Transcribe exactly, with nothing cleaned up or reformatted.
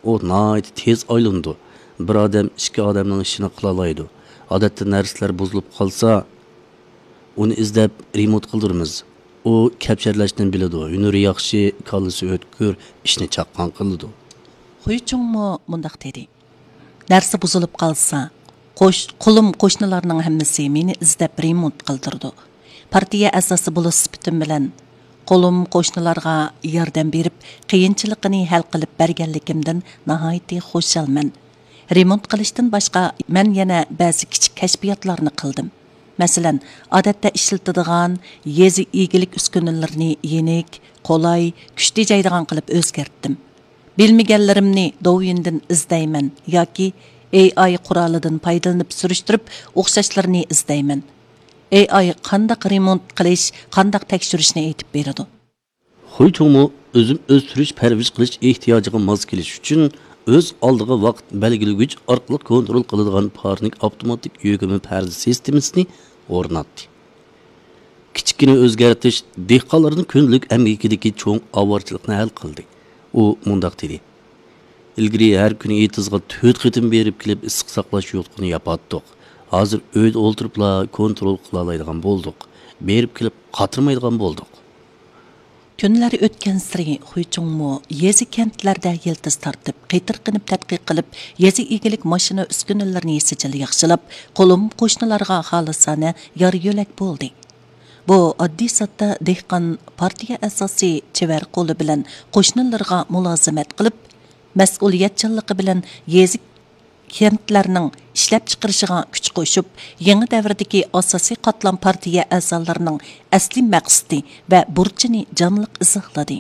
ئۇ ناھايىتى تېز ئايلىنىدۇ. بىر ئادەم ئىككى ئادەمنىڭ ئىشىنى قىلالايدۇ. ئادەتتە نەرسىلەر بۇزۇلۇپ قالسا، ئۇنى ئىزدەپ رېمونت قىلدۇرىمىز. ئۇ كەپشەرلەشنى بىلىدۇ، ھۈنىرى ياخشى، كاللىسى ئۆتكۈر، ئىشنى چاققان قىلىدۇ. خۇي چۇڭمۇ مۇنداق دېدى: نەرسە بۇزۇلۇپ قالسا، قوش-، قولۇم قوشنىلارنىڭ ھەممىسى مېنى ئىزدەپ رېمونت قىلدۇرىدۇ. پارتىيە ئەزاسى بولۇش سۈپىتىم بىلەن قولۇم قوشنىلارغا ياردەم بېرىپ، قىيىنچىلىقىنى ھەل قىلىپ بەرگەنلىكىمدىن ناھايىتى خۇشالمەن. رېمونت قىلىشتىن باشقا، مەن يەنە بەزى كىچىك كەشپىياتلارنى قىلدىم. مەسىلەن، ئادەتتە ئىشلىتىدىغان يېزا ئىگىلىك ئۈسكۈنىلىرىنى يېنىك، قولاي، كۈچ تېجەيدىغان قىلىپ ئۆزگەرتتىم. بىلمىگەنلىرىمنى دوۋيىندىن ئىزدەيمەن ياكى ئېي ئاي قورالىدىن پايدىلىنىپ سۈرۈشتۈرۈپ، ئوخشاشلىرىنى ئىزدەيمەن. ئېي ئاي قانداق رېمونت قىلىش، قانداق تەكشۈرۈشنى ئېيتىپ بېرىدۇ. خۇي چۇڭمۇ ئۆزۈم ئۆستۈرۈش، پەرۋىش قىلىش ئېھتىياجىغا ماس كېلىش ئۈچۈن ئۆز ئالدىغا ۋاقىت بەلگىلىگۈچ ئارقىلىق كونترول قىلىدىغان پارنىك ئاپتوماتىك يۆگىمە پەردە سىستېمىسىنى ئورناتتى. كىچىككىنە ئۆزگەرتىش دېھقانلارنىڭ كۈندىلىك ئەمگىكىدىكى چوڭ ئاۋارىچىلىقنى ھەل قىلدى. ئۇ مۇنداق دېدى: ئىلگىرى ھەر كۈنى ئېتىزغا تۆت قېتىم بېرىپ كېلىپ ئىسسىق ساقلاش يوتقىنى ياپاتتۇق. ھازىر ئۆيدە ئولتۇرۇپلا كونترول قىلالايدىغان بولدۇق. بېرىپ كېلىپ قاترىمايدىغان بولدۇق. كۈنلەر ئۆتكەنسېرى خۇيچۇڭمۇ يېزا كەنتلەردە يىلتىز تارتىپ، قېتىرقىنىپ تەتقىق قىلىپ، يېزا ئىگىلىك ماشىنا ئۈسكۈنىلىرىنى سىجىل ياخشىلاپ، قولۇم قوشنىلارغا خالىسانە يار يۆلەك بولدى. بۇ ئاددىي ساددا دېھقان پارتىيە ئەزاسى چېۋەر قولى بىلەن قوشنىلىرىغا مۇلازىمەت قىلىپ، مەسئۇلىيەتچانلىقى بىلەن يېزا كەنتلەرنىڭ ئىشلەپچىقىرىشىغا كۈچ قوشۇپ، يېڭى دەۋردىكى ئاساسىي قاتلام پارتىيە ئەزالىرىنىڭ ئەسلىي مەقسىتى ۋە بۇرچىنى جانلىق ئىزاھلىدى.